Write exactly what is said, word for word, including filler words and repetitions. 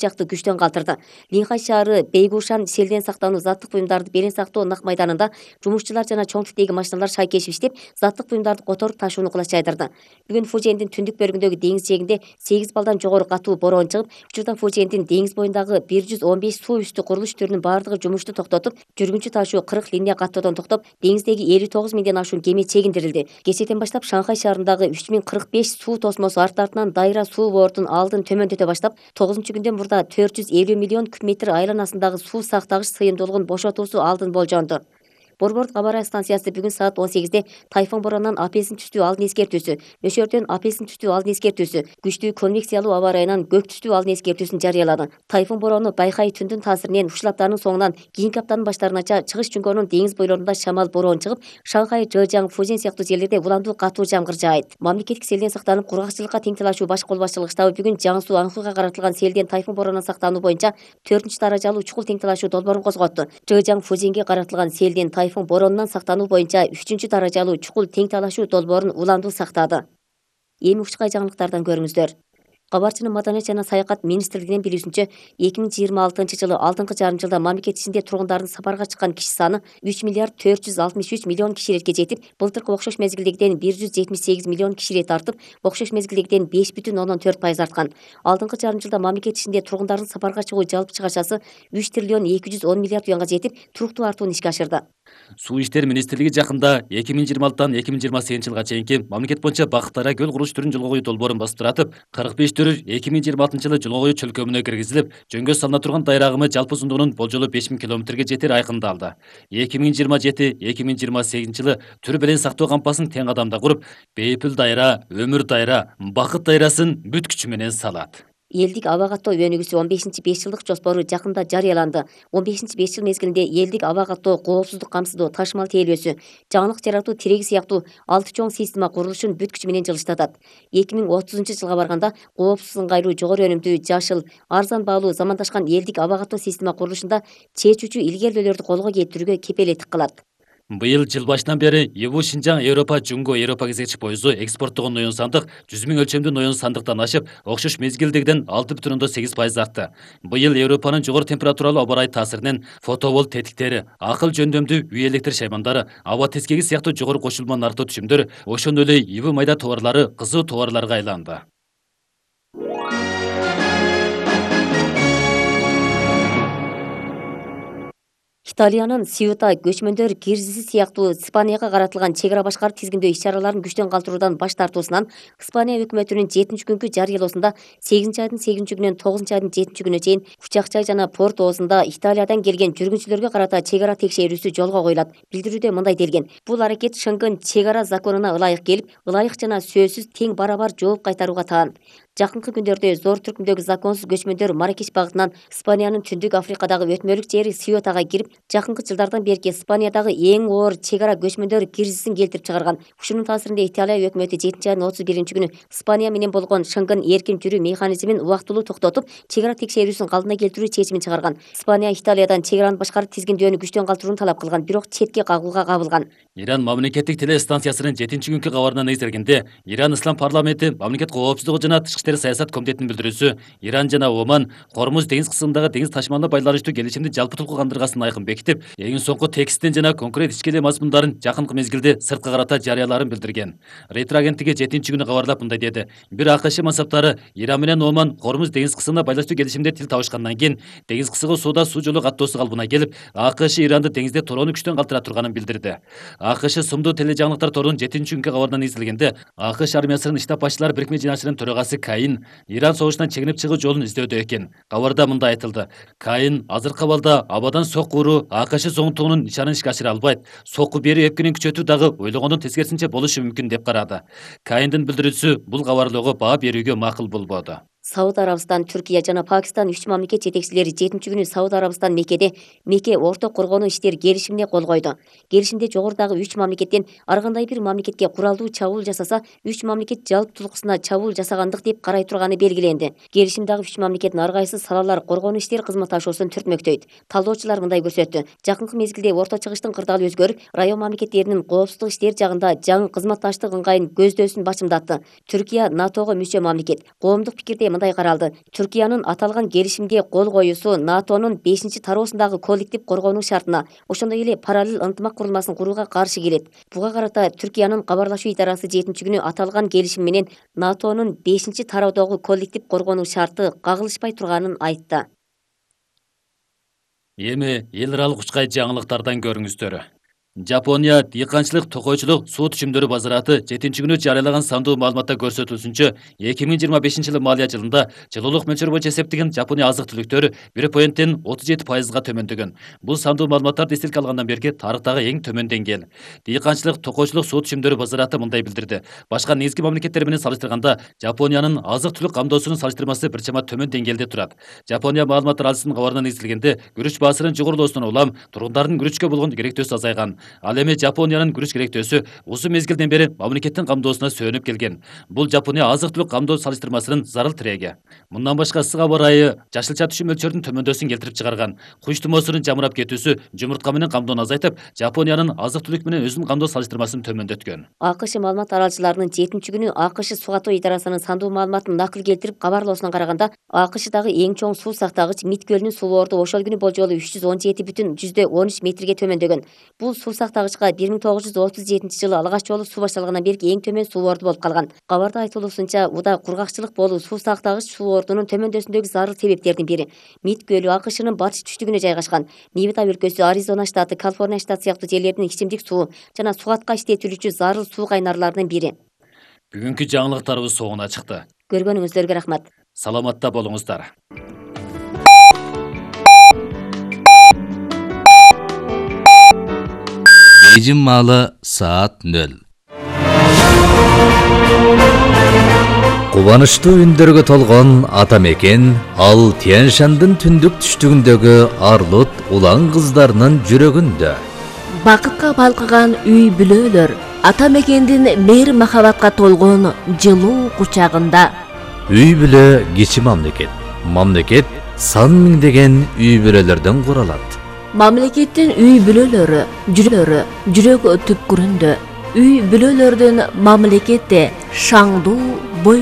жакты күчтөн калтырды. Линхай шаары Бейгушан селден сактануу заттык буюмдарды белең сактоо нак майданында жумушчулар жана чоң типтеги машиналар шайкешип иштеп, заттык буюмдарды которуп ташууну кулаш жайдырды. Бүгүн Фужендин түндүк бөлүгүндөгү деңиз жээгинде сегиз балдан жогору катуу бороон чыгып, учурда Фужендин деңиз боюндагы бир жүз он беш суу үстү курулуш түрүнүн бардыгы жумушту токтотуп, жүргүнчү ташуу кырк линия каттоодон токтоп, деңиздеги элүү тогуз миңден ашуун кеме чегиндирилди. Кечээден баштап Шанхай шаарындагы үч миң кырк беш суу тосмосу арт-артынан дайра суу бортун алдын төмөндөтө баштап, тогузунчу күндөн мурда төрт жүз элүү миллион куб метр айланасындагы суу сактагыч сыйымдуулугун бошотуусу алдын болжонду. Борбордук аба ырайы станциясы бүгүн саат он сегизде тайфун боронунан апельсин түстүү алдын эскертүүсү, нөшөрдөн апельсин түстүү алдын эскертүүсү, күчтүү конвекциялуу аба ырайынан көк түстүү алдын эскертүүсүн жарыялады. Тайфун бороону Байхай түндүн таасиринен ушул аптанын соңунан кийинки аптанын баштарынача чыгыш Чуңкоонун деңиз бойлорунда шамал бороон чыгып, Шанхай, Жэжяң, Фужен сыяктуу жерлерде уламдуу катуу жамгыр жаайт. Мамлекеттик селден сактанып, кургакчылыкка тең талашуу баш кол башчылык штабы бүгүн Жаңсу Аңхыга каратылган селден тайфун боронунан сактануу боюнча төртүнчү даражалуу чукул тең талашуу долбоорун козготту. Жэжяң, Фуженге каратылган селден тайфун боронунан сактануу боюнча үчүнчү даражалуу чукул тең талашуу долбоорун уламдуу сактады. Эми ушкай жаңылыктардан көрүңүздөр. Кабарчынын Маданият жана саякат министрлигинин билүүсүнчө, эки миң жыйырма алтынчы жылы алдыңкы жарым жылда мамлекет ичинде тургундардын сапарга чыккан киши саны үч миллиард төрт жүз алтымыш үч миллион киши иретке жетип, былтыркы окшош мезгилдегиден бир жүз жетимиш сегиз миллион киши ирет артып, окшош мезгилдегиден беш бүтүн ондон төрт пайыз арткан. Алдыңкы жарым жылда мамлекет ичинде тургундардын сапарга чыгуу жалпы чыгашасы үч триллион эки жүз он миллиард юанга жетип, туруктуу артууну ишке ашырды. Суу иштер министрлиги жакында эки миң жыйырма алтыдан эки миң жыйырма сегизинчи жылга чейинки мамлекет боюнча Бакыт Дайра көл курулуш түрүн жолго коюу долбоорун басып таратып, кырк беш түрү эки миң жыйырма алтынчы жылы жолго коюу чөлкөмүнө киргизилип, жөнгө салына турган дайра агымы жалпы узундугунун болжолу беш миң километрге жетери айкындалды. эки миң жыйырма жети эки миң жыйырма сегизинчи жылы түр белең сактоо кампасын тең кадамда куруп, Бейпүл дайра, Өмүр дайра, Бакыт дайрасын бүт күчү менен салат. Элдик аба каттоо өнүгүүсү он бешинчи беш жылдык жоспору жакында жарыяланды. он бешинчи беш жыл мезгилинде элдик аба каттоо, коопсуздук камсыздоо, ташымал тейлөөсү, жаңылык жаратуу тиреги сыяктуу алты чоң система курулушун бүт күчү менен жылыштатат. эки миң отузунчу жылга барганда коопсуз, ыңгайлуу, жогору өнүмдүү, жашыл, арзан баалуу, замандашкан элдик аба каттоо система курулушунда чечүүчү илгерүүлөрдү колго келтирүүгө кепелеттик кылат. Быйыл жыл башынан бери Ебу Шинжаң Европа Жунго Европа кезекчи поезду экспорттогон ноён сандык жүз миң өлчөмдүү ноён сандыктан ашып, окшош мезгилдегиден алты бүтүн ондон сегиз пайыз артты. Быйыл Европанын жогору температуралуу аба ырайы таасиринен фотоволт тетиктери, акыл жөндөмдүү үй электр шаймандары, аба тескеги сыяктуу жогору кошулма нарықтуу түшүмдөр, ошондой эле ибы майда товарлары кызуу товарларга айланды. Италиянын Сиута көчмөндөр киризиси сыяктуу Испанияга каратылган чек ара башкарып тизгиндөө иш-чараларын күчтөн калтыруудан баш тартуусунан Испания өкмөтүнүн жетинчи күнкү жарыялоосунда сегизинчи айдын сегизинчи күнүнөн тогузунчу айдын жетинчи күнүнө чейин Учак-Чай жана Порт оозунда Италиядан келген жүргүнчүлөргө карата чек ара текшерүүсү жолго коюлат. Билдирүүдө мындай делген: бул аракет Шенген чек ара законуна ылайык келип, ылайык жана сөзсүз тең барабар жооп кайтарууга таан. Жакынкы күндөрдө зор түркүмдөгү законсуз көчмөндөр Маракеш багытынан Испаниянын Түндүк Африкадагы өтмөлүк жери Сиутага кирип, жакынкы жылдардан берки Испаниядагы эң оор чек ара көчмөндөр кризисин келтирип чыгарган. Ушунун таасиринде Италия өкмөтү жетинчи айдын отуз биринчи күнү Испания менен болгон Шенген эркин жүрүү механизмин убактылуу токтотуп, чек ара текшерүүсүн калдына келтирүү чечимин чыгарган. Испания Италиядан чек араны башкарып тизгиндөөнү күчтөн калтырууну талап кылган, бирок четке кагууга кабылган. Иран мамлекеттик телестанциясынын жетинчи күнкү кабарына негизделгенде, Иран Ислам парламенти мамлекет коопсуздугу жана тышкы иштер саясат комитетинин билдирүүсү, Иран жана Оман Кормуз деңиз кысымындагы деңиз ташымалына байланыштуу келишимди жалпы толку камтыргасын айкын бекитип, эң соңку текстин жана конкрет ичкеле мазмундарын жакынкы мезгилде сырткы карата жарыялаарын билдирген. Рейтер агенттиги жетинчи күнү кабарлап мындай деди: бир АКШ мансаптары Иран менен Оман Кормуз деңиз кысымына байланыштуу келишимде тил табышкандан кийин деңиз кысыгы сууда суу жолу каттоосу калыбына келип, АКШ Иранды деңизде torooну күчтөн калтыра турганын билдирди. АКШ сумдуу тележаңылыктар торунун жетинчи күнкү кабарына негизделгенде, АКШ армиясынын штаб башчылар бирикме жыйналышынын төрагасы Каин Иран согушунан чегинип чыгуу жолун издөөдө экен. Кабарда мындай айтылды: Каин азыркы абалда абадан сокку уруу АКШ зоңтугунун нишанын ишке ашыра албайт. Сокку бери өпкөнүн күчөтүү дагы ойлогондон тескерисинче болушу мүмкүн деп карады. Каиндин билдирүүсү бул кабарлоого баа берүүгө макул болбоду. Сауд Арабистан, Түркия жана Пакистан үч мамлекет жетекчилери жетинчи күнү Сауд Арабистан Меккеде Мекке орто коргонуу иштер келишимине кол койду. Келишимде жогорудагы үч мамлекеттен ар кандай бир мамлекетке куралдуу чабуул жасаса, үч мамлекет жалпы тулкусуна чабуул жасагандык деп карай турганы белгиленди. Келишимдагы үч мамлекеттин ар кайсы салалар коргонуу иштер кызматташуусун түртмөктөйт. Талдоочулар мындай көрсөттү: жакынкы мезгилде орто чыгыштын кырдаалы өзгөрүп, район мамлекеттеринин коопсуздук иштер жагында жаңы кызматташтык ыңгайын көздөөсүн бачымдатты. Түркия НАТОго мүчө мамлекет. Коомдук пикирде мындай каралды. Түркиянын аталган келишимге кол коюусу НАТОнун бешинчи тароосундагы коллектив коргоонун шартына, ошондой эле параллель ынтымак курулмасын курууга каршы келет. Буга карата Түркиянын кабарлашуу идарасы жетинчи күнү аталган келишим менен НАТОнун бешинчи тароодогу коллектив коргоонун шарты кагылышпай турганын айтты. Эми эл аралык учкай жаңылыктардан көрүңүздөр. Жапония дыйканчылык токойчулук суу түшүмдөрү базараты жетинчи күнү жарыялаган сандуу маалыматта көрсөтүлсүнчө, эки миң жыйырма бешинчи жылы малия жылында жылуулук мөлчөрү боюнча эсептеген Жапония азык-түлүктөр бир поинттен отуз жети пайызга төмөндөгөн. Бул сандуу маалыматтарды эсилке алгандан берки тарыхтагы эң төмөн деңгээл. Дыйканчылык токойчулук суу түшүмдөрү базараты мындай билдирди. Башка негизги мамлекеттер менен салыштырганда Жапониянын азык-түлүк камдоосунун салыштырмасы бир чама төмөн деңгээлде турат. Жапония маалыматтар алуусунун кабарына негизделгенде, күрүч баасынын жогорулоосунан улам тургундардын күрүчкө болгон керектөөсү азайган. Ал эми Жапониянын күрүч керектөөсү узун мезгилден бери мамлекеттин камдоосуна сөөнүп келген. Бул Жапония азык-түлүк камдоо салыштырмасынын зарыл тиреги. Мындан башка ысык аба ырайы жашылча түшүм мөлчөрүнүн төмөндөсүн келтирип чыгарган. Куч тумоосунун жамырап кетүүсү жумуртка менен камдоону азайтып, Жапониянын азык-түлүк менен өзүнүн камдоо салыштырмасын төмөндөткөн. АКШ маалымат аралчыларынын жетинчи күнү АКШ суу каттоо идарасынын сандуу маалыматын накыл келтирип кабарлоосуна караганда, АКШдагы эң чоң суу сактагыч Мид көлүнүн сулоорду ошол күнү болжолу үч жүз он жети бүтүн жүздө он үч метрге төмөндөгөн. Бул суу сактагычка бир миң тогуз жүз отуз жетинчи жылы алгач жолу суу башталгандан берки эң төмөн сулоорду болуп калган. Кабарда айтылуусунча, уда кургакчылык болуу суу сактагыч сулоордунун төмөндөсүндөгү зарыл себептердин бири. Мид көлү АКШнын батыш түштүгүнө жайгашкан. Невада өлкөсү, Аризона штаты, Калифорния штаты сыяктуу жерлердин ичимдик суу жана сугатка иштетилүүчү зарыл суу кайнарларынын бири. Бүгүнкү жаңылыктарыбыз соңуна чыкты. Көргөнүңүздөргө рахмат. Саламатта болуңуздар. Бейжин маалы саат нөл. Кубанычтуу үндөргө толгон ата мекен ал Тянь-Шандын түндүк түштүгүндөгү Арлут улан кыздарынын жүрөгүндө. Бакытка балкыган үй бүлөлөр ата мекендин мейир махабатка толгон жылуу кучагында. Үй бүлө кичи мамлекет. Мамлекет сан миңдеген үй бүлөлөрдөн куралат. Мамлекеттин үй бүлөлөрү, жүрөлөрү жүрөк түпкүрүндө. Үй бүлөлөрдүн мамлекетте шаңдуу бой